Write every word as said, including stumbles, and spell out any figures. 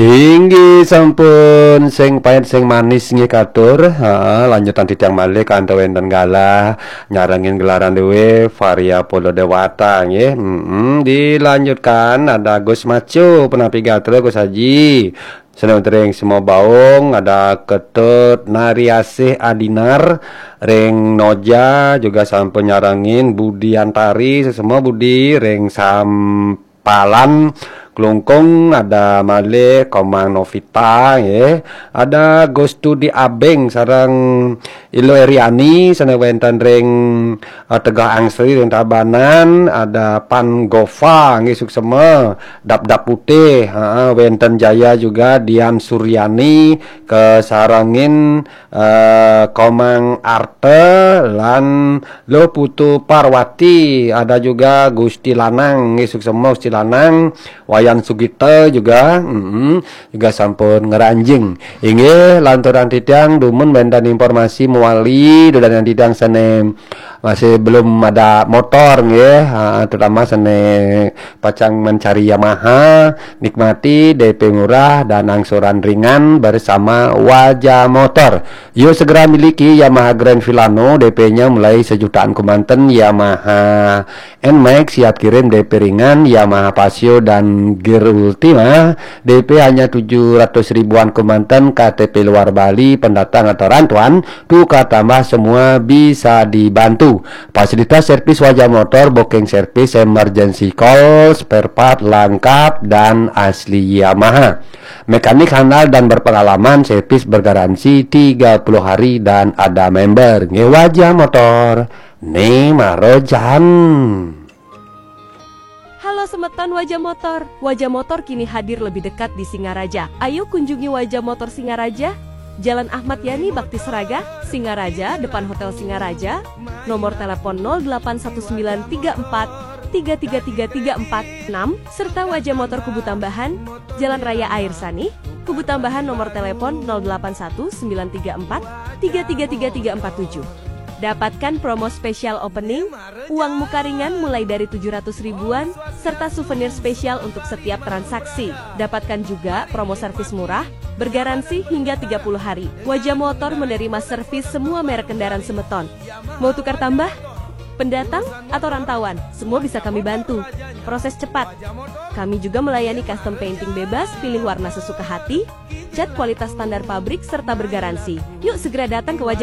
Inggih sampun, sing pait sing manis nggih katur. Heeh, lanjutan titiang malih kantos wénten galah nyarengin gelaran déwé Varia Polo Dewata nggih. Mm-mm, dilanjutkan ada Gus Maco, penapi gatra Gus Haji. Seneng tering semua baung, ada Ketut Nariasih Adinar, ring Noja juga sampun nyarengin Budi Antari, sesama Budi ring Sampalan, Klungkung, ada malih Komang Novita, nggih. Ada Gustudi Abeng sareng Ilo Eriani, sana wénten ring, eh, Tegah Angsri ring Tabanan, ada Pan Gofa, nggih, suksema, Dap-dap Putih, heeh, wénten Jaya juga, Dian Suryani, kasarengin, eh, Komang Arte, lan Luh Putu Parwati, ada juga Gusti Lanang, nggih, suksema Gusti Lanang, Wayan Sugita juga, mm-mm, juga sampun ngranjing. Inggih, lanturang titiang dumun wénten informasi mawali, dudonan titiang sané masih belum ada motor nggih, ha, terutama sané pacang mencari Yamaha, nikmati D P murah dan angsuran ringan bersama Waja Motor. Yuk segera miliki Yamaha Grand Filano, D P-nya mulai sejutaan kemanten, Yamaha Nmax siap kirim D P ringan, Yamaha Fazzio dan Gear Ultima, D P hanya tujuh ratus ribuan kemanten, K T P luar Bali, pendatang atau rantauan, tukar tambah semua bisa dibantu. Fasilitas servis Waja Motor, booking service, emergency call, spare part lengkap dan asli Yamaha. Mekanik handal dan berpengalaman, servis bergaransi tiga puluh hari dan ada member. Nggih, Waja Motor, né mara jan. Halo semeton Waja Motor. Waja Motor kini hadir lebih dekat di Singaraja. Ayo kunjungi Waja Motor Singaraja, Jalan Ahmad Yani Bakti Seraga, Singaraja, depan Hotel Singaraja. Nomor telepon nol delapan satu sembilan tiga empat tiga tiga tiga tiga empat enam, serta Waja Motor Kubu Tambahan, Jalan Raya Air Sanih, Kubu Tambahan, nomor telepon nol delapan satu sembilan tiga empat tiga tiga tiga tiga empat tujuh. Dapatkan promo spesial opening, uang muka ringan mulai dari tujuh ratus ribuan, serta souvenir spesial untuk setiap transaksi. Dapatkan juga promo servis murah, bergaransi hingga tiga puluh hari. Waja Motor menerima servis semua merek kendaraan semeton. Mau tukar tambah? Pendatang atau rantauan, semua bisa kami bantu. Proses cepat. Kami juga melayani custom painting bebas, pilih warna sesuka hati, cat kualitas standar pabrik, serta bergaransi. Yuk segera datang ke Waja